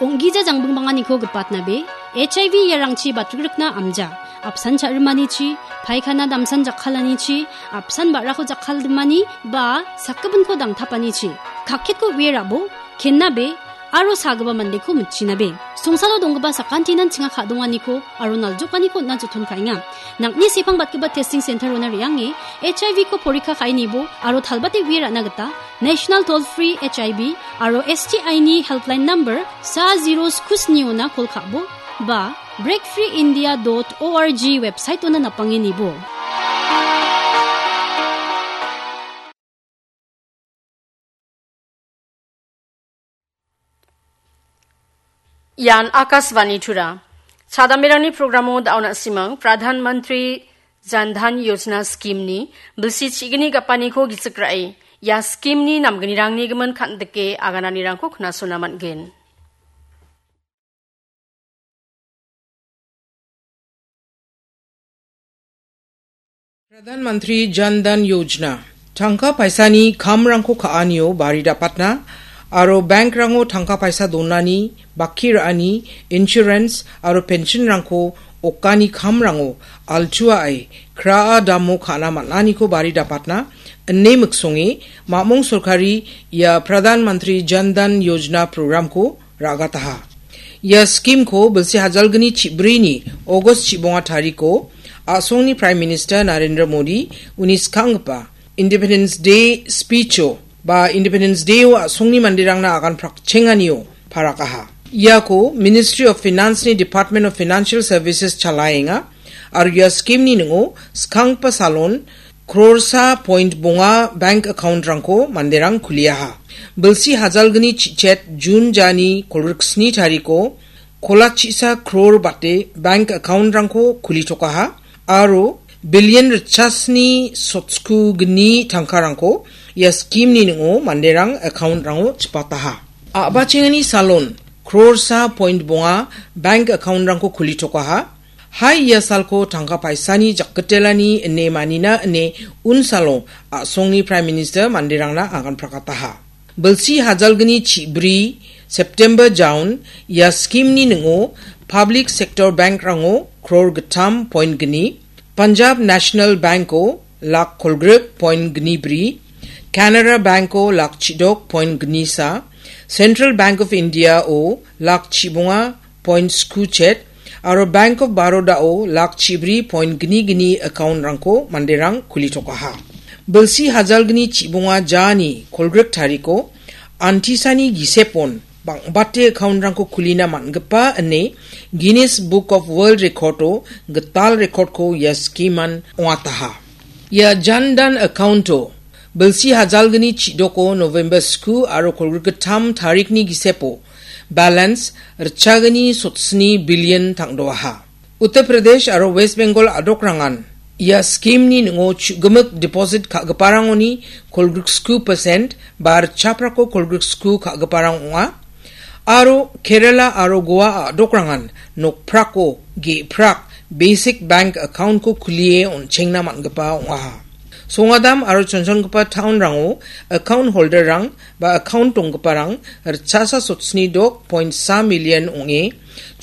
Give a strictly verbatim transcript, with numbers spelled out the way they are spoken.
Ong·gija jangbingbanganiko gipatnabe, H I V iarangchi batrikrikna amja, apsan cha·rimanichi, paikana damsan jakkalanichi, apsan ba·rako jakkaldimani, ba sakgipinko dangtapanichi, kakketko uie rabo, kennabe, aro sagipa mandeko mitchinabe. Songsalo donggipa sakantinan chinga ka·donganiko aro naljokaniko on·na joton ka·enga. Nang·ni sepang batgipa testing center-ona re·ange H I V-ko porikka ka·e nibo aro talbate uie ra·na gita National Toll Free H I V aro S T I-ni helpline number sa zero sku sni-ona kol ka·bo ba break free india dot org website-ona napange nibo. Ian Akashvani Tura. Chadamerangni programo da·o na·simang Pradhan Mantri Jan Dhan Yojana scheme-ni bilsi chigni gapaniko gisik ra·e, ia scheme-ni namgnirangni gimin kan·dike agananirangko knasona man·gen. Pradhan Mantri Jan Dhan Yojana. Tangka paisani kamrangko ka·anio bari dapatna aro bankrango tangka paisa donani, bakki ra·ani, insurance aro pensionrangko okani kamrango altuae kraa damo ka·na man·aniko bari dapatna ine miksonge mamong sorkari ia Pradhan Mantri Jan Dhan Yojana programko ra·gataha. Ia scheme-ko bilsi hajalgni chibrini August chibonga tariko a·songni Prime Minister Narendra Modi uni skanggipa Independence Day speech-o ba Independence Day-o a·songni manderangna agan prakchenganio parakaha. Iako Ministry of Finance-ni Department of Financial Services chalaenga aro ia scheme-ni ning·o skanggipa salon krorsa point bonga bank account-rangko manderang kuliaha. Bilsi hajalgni chichet June jani kolgriksni tariko kolachisa kror bate bank account-rangko kulitokaha aro billion ritchasni sotsku gni tangkarangko ia scheme-ni ning·o manderang account-rango chipataha. A·bachengani salon krorsa point bonga bank account-rangko kulitokaha. Hai ia salko tangka paisani jakgitelani ine manina ine unsalo a·songni Prime Minister manderangna agan prakataha. Bilsi hajalgni chibri September jaun ia scheme-ni ning·o Public Sector Bank-rango kror gittam point gni, Punjab National Bank-o lak kolgrik point gni bri, Canara Bank-o lak chidok point gni sa, Central Bank of India-o lak chibonga point sku chet aro Bank of Baroda-o lak chibri point gni gni account-rangko manderang kulitokaha. Bilsi hajalgni chibonga jani kolgrik tariko antisani gisepon bang·bate account-rangko kulina man·gipa ine Guinness Book of World Record-o gital record-ko ia scheme-an ong·ataha. Ia Jan Dhan account-o bilsi hajalgni chidoko November sku aro kolgrik gittam tarikni gisepo balance ritchagni sotsni billion tangdoaha. Uttar Pradesh aro West Bengal a·dokrangan ia scheme-ni ning·o chu·gimik deposit ka·giparangoni kolgriksku percent ba ritchaprako kolgriksku ka·giparang ong·a. Aro Kerala aro Goa a·dokrangan nokprako ge·prak basic bank account-ko kulie on·chengna man·gipa ong·aha. Songadam aro chonchongipa town-rango account holder-rang ba account donggiparang ritchasa sotsni dok point sa million ong·e